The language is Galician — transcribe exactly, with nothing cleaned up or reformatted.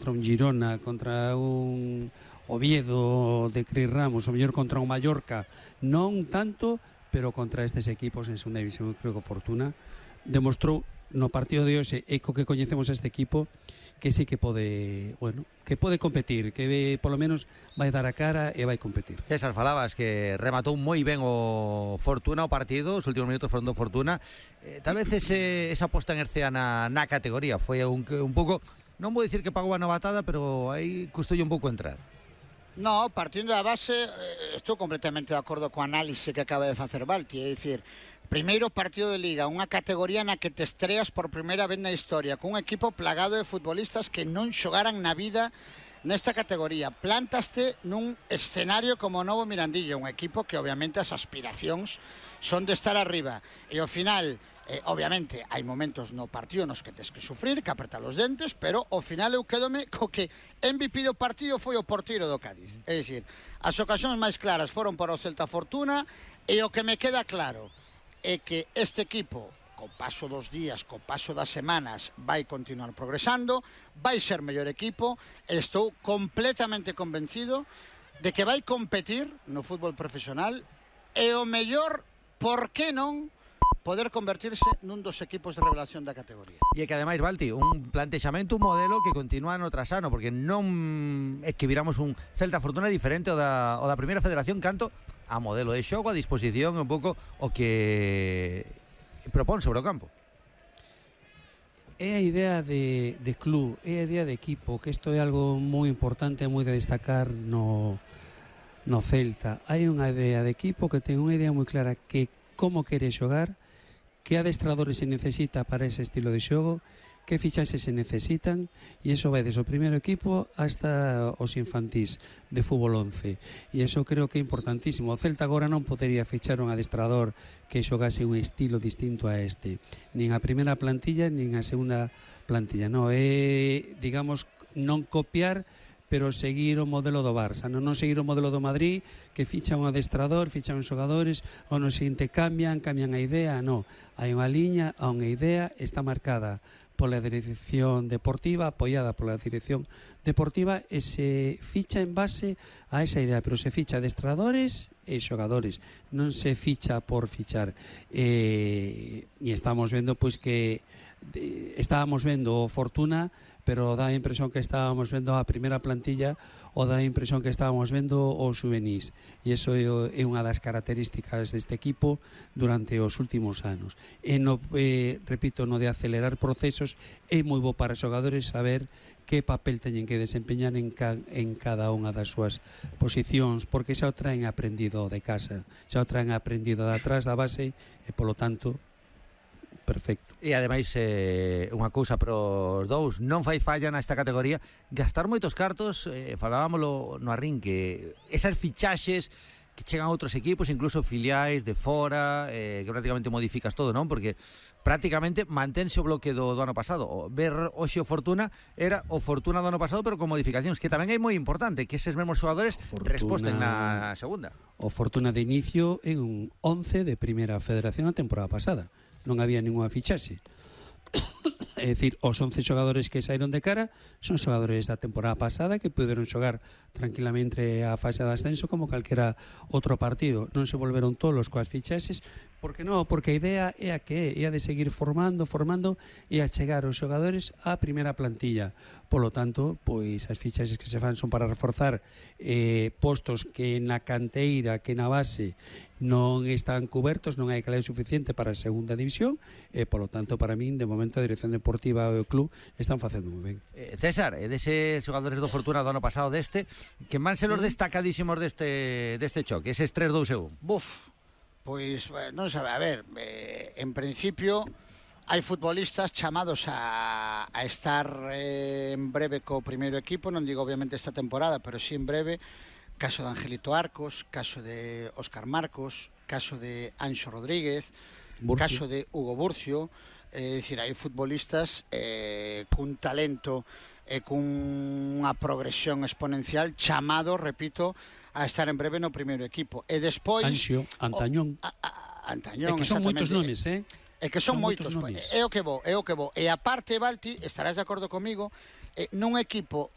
contra un Girona, contra un Oviedo de Cris Ramos, o mellor contra un Mallorca, non tanto, pero contra estes equipos en segunda división, creo que Fortuna demostrou no partido de hoxe, e co que coñecemos este equipo, que sí que pode, bueno, que pode competir, que polo menos vai dar a cara e vai competir. César, falabas que rematou moi ben o Fortuna o partido, os últimos minutos foron do Fortuna. Eh, tal vez ese, esa posta en Ercea na, na categoría foi un, un pouco, non vou dicir que pagou a novatada, pero aí custoulle un pouco entrar. No, partindo da base, eh, estou completamente de acordo co análise que acaba de facer Balti, é dicir, primeiro partido de Liga, unha categoría na que te estreas por primeira vez na historia, cun equipo plagado de futbolistas que non xogaran na vida nesta categoría. Plantaste nun escenario como o Novo Mirandillo, un equipo que obviamente as aspiracións son de estar arriba, e ao final, eh, obviamente, hai momentos no partido nos que tes que sufrir, que apretar os dentes, pero ao final eu quedome co que M V P do partido foi o porteiro do Cádiz. É dicir, as ocasións máis claras foron para o Celta Fortuna, e o que me queda claro é que este equipo, co paso dos días, co paso das semanas, vai continuar progresando, vai ser mellor equipo, e estou completamente convencido de que vai competir no fútbol profesional, e o mellor, por que non, poder convertirse nun dos equipos de revelación da categoría. E é que ademais, Balti, un plantexamento, un modelo que continúa no trasano, porque non é que viramos un Celta Fortuna diferente o da, o da primeira federación, canto a modelo de xogo, a disposición, un pouco o que propón sobre o campo. É a idea de, de club, é a idea de equipo, que isto é algo moi importante, moi de destacar no, no Celta. Hai unha idea de equipo que ten unha idea moi clara que como quere xogar, que adestradores se necesita para ese estilo de xogo, que fichaxes se necesitan, e iso vai desde o primeiro equipo hasta os infantís de fútbol once, e iso creo que é importantísimo. O Celta agora non podería fichar un adestrador que xogase un estilo distinto a este, nin a primeira plantilla nin a segunda plantilla, non é, digamos, non copiar, pero seguir o modelo do Barça, non, non seguir o modelo do Madrid, que ficha un adestrador, ficha uns xogadores, ou no seguinte cambian, cambian a idea, non. Hai unha liña, hai unha idea, está marcada pola dirección deportiva, apoiada pola dirección deportiva, e se ficha en base a esa idea, pero se ficha adestradores e xogadores, non se ficha por fichar. E, e estamos vendo pois que de, estábamos vendo o Fortuna, pero dá a impresión que estábamos vendo a primeira plantilla, ou dá a impresión que estábamos vendo os juvenís, e iso é unha das características deste equipo durante os últimos anos. E no, eh, repito, no de acelerar procesos, é moi bo para os xogadores saber que papel teñen que desempeñar en, ca, en cada unha das súas posicións, porque xa o traen aprendido de casa, xa o traen aprendido de atrás da base, e polo tanto perfecto. E ademais, eh, unha cousa para os dous, non fai falla nesta categoría gastar moitos cartos, eh, falábamoslo no arrinque, esas fichaxes que chegan a outros equipos, incluso filiais de fora, eh, que prácticamente modificas todo, non? Porque prácticamente mantense o bloque do, do ano pasado. O ver hoxe o Fortuna era o Fortuna do ano pasado, pero con modificacións, que tamén é moi importante que eses mesmos xogadores Fortuna, resposten na segunda. O Fortuna de inicio en un once de primeira federación a temporada pasada. Non había ninguna fichaxe. É dicir, os once xogadores que saíron de cara son xogadores da temporada pasada que puderon xogar tranquilamente a fase de ascenso como calquera outro partido. Non se volveron tolos coas fichaxes, porque non, porque a idea é a que é a de seguir formando, formando e a chegar os xogadores á primeira plantilla. Polo tanto, pois as fichaxes que se fan son para reforzar eh, postos que na canteira, que na base non están cubertos, non hai calidad suficiente para a segunda división, e polo tanto, para min, de momento a dirección deportiva e o club están facendo moi ben. Eh, César, e deses xogadores do Fortuna do ano pasado deste, que van ser os destacadísimos deste, deste choque, eses tres dous e un. Buf, pois, non sabe, a ver, eh, en principio hai futbolistas chamados a, a estar eh, en breve co primeiro equipo, non digo obviamente esta temporada, pero sí en breve. Caso de Angelito Arcos, caso de Óscar Marcos, caso de Anxo Rodríguez, Burcio. Caso de Hugo Burcio. É dicir, hai futbolistas eh, cun talento e cunha progresión exponencial chamado, repito, a estar en breve no primeiro equipo. E despois... Anxo, Antañón. O, a, a, Antañón, é que son moitos nomes, eh? É que son, son moitos, moitos é o que vou, é o que vou. E a parte, Balti, estarás de acordo comigo, eh, nun equipo